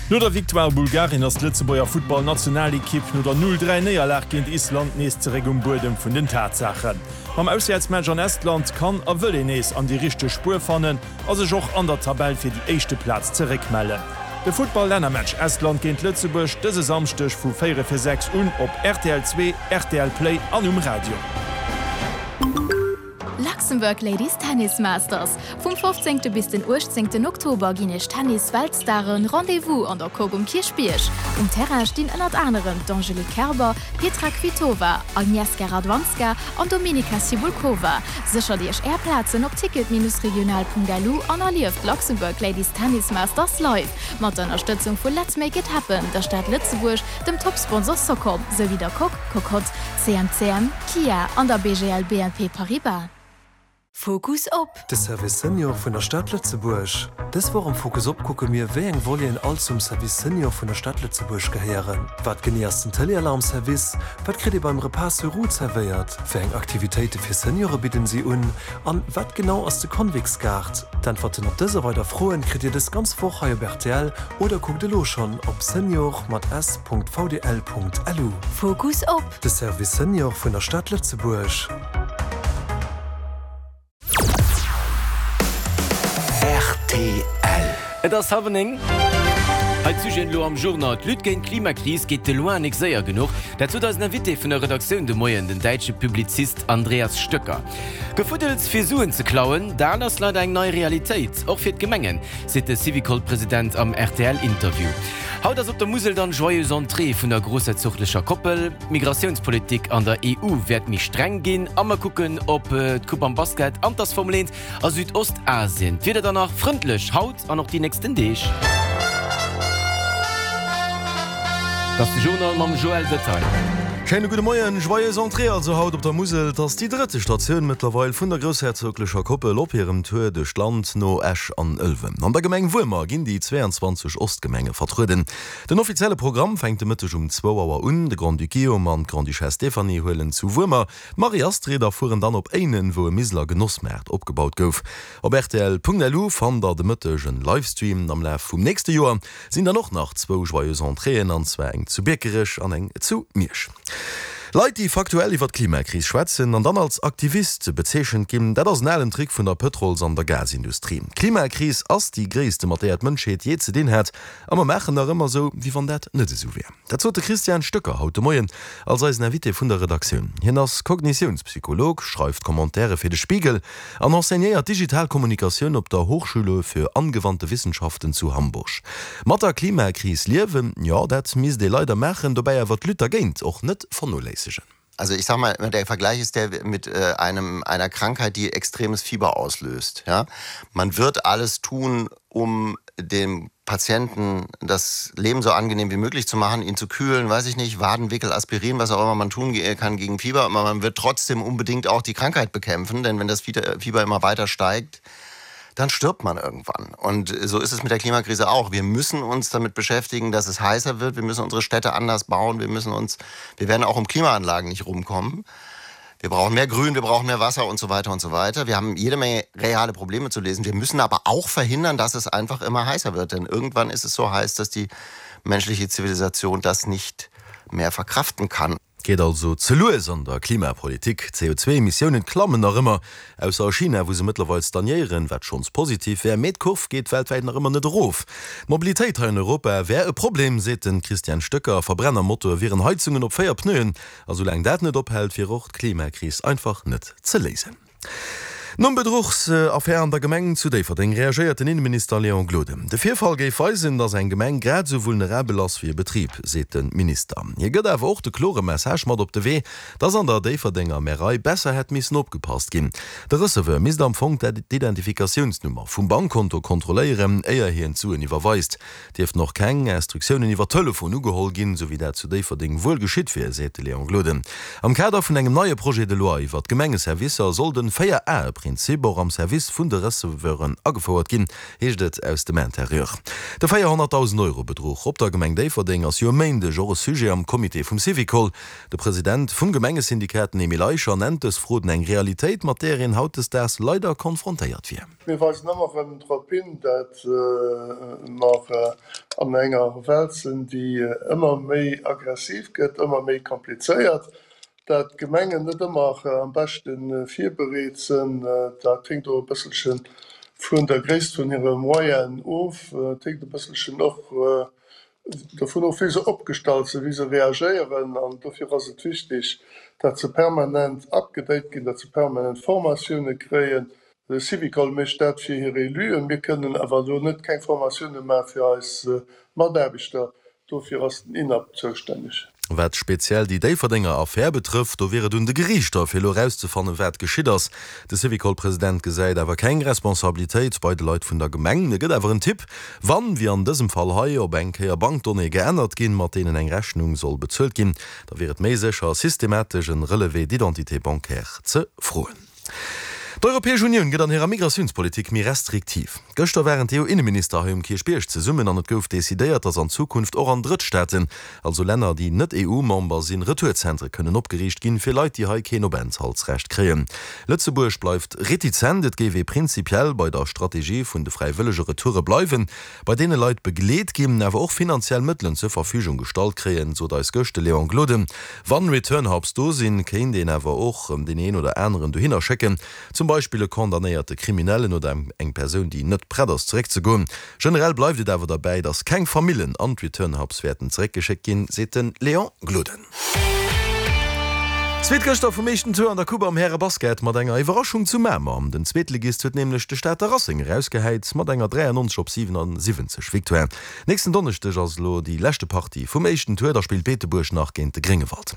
No der Victoire Bulgarien ass d'Lëtzebuerger Futtball-Nationalekipp no der 0, 3 Néierlag géint Island nees zeréck um Buedem vun den Tatsaachen. Mam Auswäertsmatch an Estland kann a wëll een nees an déi richteg Spuer fannen a sech och an der Tabell fir déi éischte Plaz zeréckmellen. De Futtball-Lännermatch Estland géint Lëtzebuerg dëse Samschdeg vu 4 fir 6 un op rtl 2, rtl Play an um Radio. Luxembourg Ladies Tennis Masters, Vum 15. Bis den 18. Oktober ginn iech Tennis-Weltstaren Rendez-vous an der Coque um Kierchbierg. Um Terrain stinn ënnert anerem d'Angelique Kerber, Petra Kvitova, Agnieszka Radwanska an Dominika Cibulkova. Séchert iech är Plazen op ticket-regional.lu an erlieft d'Luxembourg Ladies Tennis Masters live! Mat der Ënnerstëtzung vu Let's Make It Happen, der Stad Lëtzebuerg, dem Top-Sponsor Socom, souwéi der Coque, Cocotte, CMCM, Kia an der BGL BNP Paribas. Fokus op. De Service Senior vun der Stad Lëtzebuerg. Dës Woch am Fokus op kucke mir, wéi eng Voleten all zum Service Senior vun der Stad Lëtzebuerg gehéieren. Wat genee ass den Téléalarm-Service? Wat kritt ee beim Repas sur roues zerwéiert? Wéi eng Aktivitéite fir Seniore bidden si un? An wat genau ass de Convix-Gaart? D'Äntwerten op dës a weider Froen kritt Dir dës ganz Woch hei op rtl oder kuckt elo schonn op senior mat s Punkt vdl Punkt lu. Fokus op. De Service Senior vun der Stad Lëtzebuerg. Rtl. Et ass hallwer 9. Hei d'Sujeten elo am Journal. D'Lutte géint d'Klimakris geet de loin nik séier genuch. Dat sot eisen Invité vun der Redaktioun de Moien, den däitsche Publizist Andreas Stöcker. Gefuddels fir Suen ze klauen, dat ass leider eng nei Realitéit, och fir d'Gemengen, seet de Syvicol-President am RTL-Interview. Haut ass op der Musel dann Joyeuse Entrée vun der grossherzoglecher Koppel. D'Migratiounspolitik an der EU wäert méi streng ginn a mer kucken op d'Coupe am Basket an d'Ass Formel 1 a Südostasien. D'Wieder dann nach frëndlech haut an och déi nächsten Deeg. Dat ass de Journal mam Joël Detail. Schéine gudde Moien. Joyeuse Entrée also haut op der Musel. Et ass déi drëtte Statioun mëttlerweil vun der groussherzoglecher Koppel op hirem Tour duerch d'Land no Esch an Ëlwen. An der Gemeng Wuermer ginn déi 22 Ostgemenge vertrueden. Den offizielle Programm fänkt de Mëtteg um zwou Auer un. De Grand-Duc Guillaume an d'Grande-Duchesse Stéphanie huelen zu Wuermer d'Marie-Astrid a fueren dann op Éinen, wou e Miseler Genossmaart opgebaut gouf. Op rtl.lu fannt der de Mëtteg en Livestream. Am Laf vum nächste Joer sinn dann och nach zwou Joyeuse Entréeën, an zwar eng zu Biekerech an eng zu Miersch. Leit, déi faktuell iwwer d'Klimakris schwätzen an dann als Aktivist bezeechent ginn, dat ass en alen Trick vun der Pëtrols an der Gasindustrie. D'Klimakris ass déi gréisste, mat där d'Mënschheet jee ze dinn hat, a mer maachen nach ëmmer esou, wéi wann dat net esou wär. Dat sot de Christian Stöcker haut de Moien als eisen Invité vun der Redaktioun. Hien ass Kognitiounspsycholog, schreift Commentairë fir de Spiegel an enseignéiert digital Kommunikatioun op der Hochschule für angewandte Wissenschaften zu Hamburg. Mat der Klimakris liewen, jo, dat misst ee leider maachen, dobäi awer d'Lutte dergéint och net vernoléissegen. Also ich sag mal, der Vergleich ist der mit äh, einem, einer Krankheit, die extremes Fieber auslöst. Ja? Man wird alles tun, um dem Patienten das Leben so angenehm wie möglich zu machen, ihn zu kühlen, weiß ich nicht, Wadenwickel, Aspirin, was auch immer man tun kann gegen Fieber. Aber man wird trotzdem unbedingt auch die Krankheit bekämpfen, denn wenn das Fieber immer weiter steigt, dann stirbt man irgendwann. Und so ist es mit der Klimakrise auch. Wir müssen uns damit beschäftigen, dass es heißer wird. Wir müssen unsere Städte anders bauen. Wir müssen uns, wir werden auch um Klimaanlagen nicht rumkommen. Wir brauchen mehr Grün, wir brauchen mehr Wasser und so weiter und so weiter. Wir haben jede Menge reale Probleme zu lesen. Wir müssen aber auch verhindern, dass es einfach immer heißer wird. Denn irgendwann ist es so heiß, dass die menschliche Zivilisation das nicht mehr verkraften kann. Geet also ze lues an der Klimapolitik. D'CO2-Emissiounen klammen nach ëmmer, ausser a China, wou se mëttlerweil stagnéieren, wat schonns positiv wär. Mee d'Kurv geet weltwäit nach ëmmer net erof. D'Mobilitéit hei an Europa wär e Problem, seet de Christian Stöcker. Verbrennermotoe wieren Heizungen op 4 Pneuen. A soulaang dat net ophält, wier och d'Klimakris einfach net ze léisen. Nom Bedruchsaffär an der Gemeng zu Déifferdeng reagéiert den Inneminister Léon Gloden. De Virfall géif weisen, datt eng Gemeng grad esou vulnerabel ass wéi e Betrib, seet de Minister. Hie gëtt awer och de klore Message mat op de Wee, datt an der Déifferdenger Märei besser hätt missen opgepasst ginn. De Receveur misst am Fong d'Identifikatiounsnummer vum Bankkonto kontrolléieren, éier hien d'Suen iwwerweist. Dierften och keng Instruktiounen iwwer Telefon ugeholl ginn, esou wéi dat zu Déifferdeng wuel geschitt wier, seet de Léon Gloden. Am Kader vun engem neie Projet de loi iwwer d'Gemengeservicer soll den Véier-Ae-Prinzip och am Service vun de Receveuren agefouert ginn, heescht et aus dem Interieur. De 400.000 Euro Bedruch op der Gemeng Déifferdeng ass jo e Méindeg och e Sujet am Comité vum Syvicol. De President vum Gemengesyndikat, den Emile Eicher, nennt dës Froden eng Realitéit, mat där een hautdesdaags leider konfrontéiert wier. Mir weisen ëmmer erëm drop hin, dat mer. an enger Welt sinn, déi ëmmer méi aggressiv gëtt, ëmmer méi komplizéiert, dat d'Gemengen net ëmmer am beschte virbereet sinn. Dat héngt och e bësselche vun der Gréisst vun hire Moyenen of. Et héngt e bësselchen och dovun of, wéi se opgestallt sinn, wéi se reagéieren. An dofir ass et wichtig, dat se permanent upgedate ginn, dat se permanent Formatioune kréien. De Syvicol mécht dat fir hir Éluen. Mir kënnen awer elo net keng Formatioune maache fir eis Mataarbechter. Dofir ass den INAP zoustänneg. Wat speziell déi Déifferdenger Affär betrëfft, do wier et un de Geriichter, fir elo erauszefannen, wat geschitt ass. De Syvicol-President gesäit awer keng Responsabilitéit bei de Leit vun der Gemeng. E gëtt awer en Tipp, Wann, wéi an dësem Fall hei, op eng Kéier Bankdonnéeë geännert ginn, mat deenen eng Rechnung soll bezuelt ginn, da wier et méi sécher, systematesch en Relevé d'identité bancaire ze froen. D'Europäesch Unioun gëtt an hirer Migratiounspolitik méi restriktiv. Gëschter waren d'EU-Inneminister hei um Kierchbierg zesummen an et gouf decidéiert, datt an Zukunft och an Drëttstaaten, also Länner, déi net EU-Member sinn, Retourzentre kënnen opgeriicht ginn, fir Leit, déi hei keen Openthaltsrecht kréien. Lëtzebuerg bleift retizent, et géif ee prinzipiell bei der Strategie vun de fräiwëllege Retoure bleiwen, bei deene Leit begleet ginn, awer och finanziell Mëttelen zur Verfügung gestallt kréien, sot eis gëscht de Léon Gloden. Wann Return Hubs do sinn, kéint een awer och deen een oder aneren dohinner schécken, zum Beispill e condamnéierte Kriminellen oder eng Persoun, déi net prett ass zeréckzegoen. Generell bleift et awer derbäi, datt keng Famillen an d'Return Hubs wäerten zeréckgeschéckt ginn, seet de Léon Gloden. Zweet gëschter vum éischten Tour an der Coupe am Härebasket mat enger Iwwerraschung zu Mamer. Den Zweetligist huet nämlech de Stater Racing erausgehäit mat enger 93 op 77 Victoire. Nächsten Donneschdeg ass elo déi leschte Partie vum éischten Tour, da spillt Beetebuerg nach géint de Gréngewald.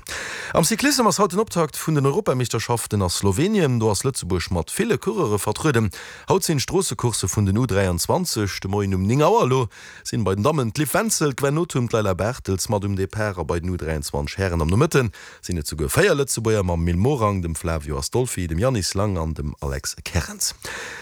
Am Cyclissem ass haut den Optakt vun den Europameeschterschaften a Slowenien. Do ass Lëtzebuerg mat ville Coureure vertrueden. Haut sinn d'Stroossecoursse vun den U23 de Moien um 9 Auer. Elo sinn bei den Dammen d'Liv Wenzel, d'Gwen Nothum, d'Leila Bartels mat um Depart a bei den U23 Hären am Nomëtte sinn et souguer 4 Lëtzebuerger mam Mil Morang, dem Flavio Astolfi, dem Yannis Lang an dem Alex Kerrens.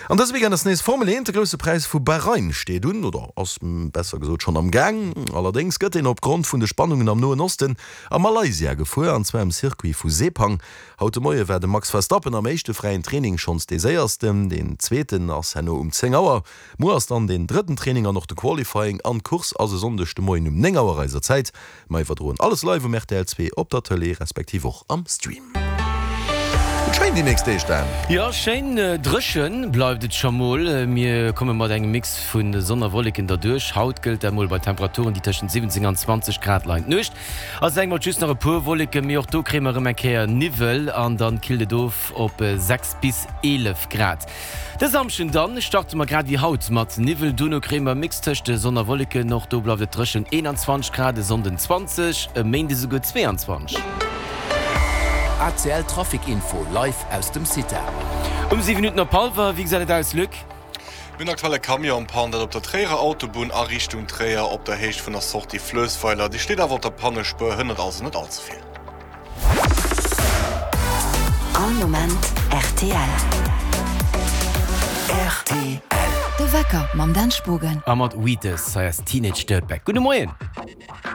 An dëse Weekend ass nees Formel 1, de Grousse Präis vu Bahrain steet un, oder ass besser gesot schonn am Gaang. Allerdéngs gëtt en opgrond vun de Spannungen am Noen Osten a Malaysia gefuer, an zwar um Circuit vu Sepang. Haut de Moie war de Max Verstappen am éischte fräien Training schonns dee séiersten, deen zweeten ass herno um 10 Auer. Muer ass dann deen drëtten Training an och de Qualifying an d'Course ass e Sonndeg de Moien um 9 Auer eiser Zäit. Mer iwwerdroen alles live um rtl 2 op der Tëlee respektiv och am Stream. Gëtt schéin déi nächst Deeg, Dan. Jo, schéin dréchen bleift et scho mol. Mir komme mat engem Mix vu Sonn a Wolleken derduerch. Haut gëllt dat mol bei Temperaturen, déi tëschent 17 an 20 Grad leien. D'Nuecht ass eng mat just nach e puer Wolleken, mee och do kréie mer erëm eng Kéier Niwwel an dann killt et of op 6 bis 11 Grad. De Samschden dann starte mer grad wéi haut mat Niwwel, dono kréie mer e Mix tëscht Sonn a Wolleken, och do bleift et dréchen, 21 Grad, e Sonnden 20, e Méinde souguer 22. ACL Trafic Info live aus dem CITA. Um 7 Minutten op hallwer, wéi gesäit et aus Luc? Mir hunn aktuell e Camion en panne, dat op der Tréierer Autobunn a Richtung Tréier op der Héicht vun der Sortie Fluessweiler. Déi steet awer op der Pannespuer, hënnert also net all ze vill. All Moment rtl. Rtl. De Wecker mam Dan Spogen. A mat Wheatus, hei ass Teenage Dirtbag. Gudde Moien!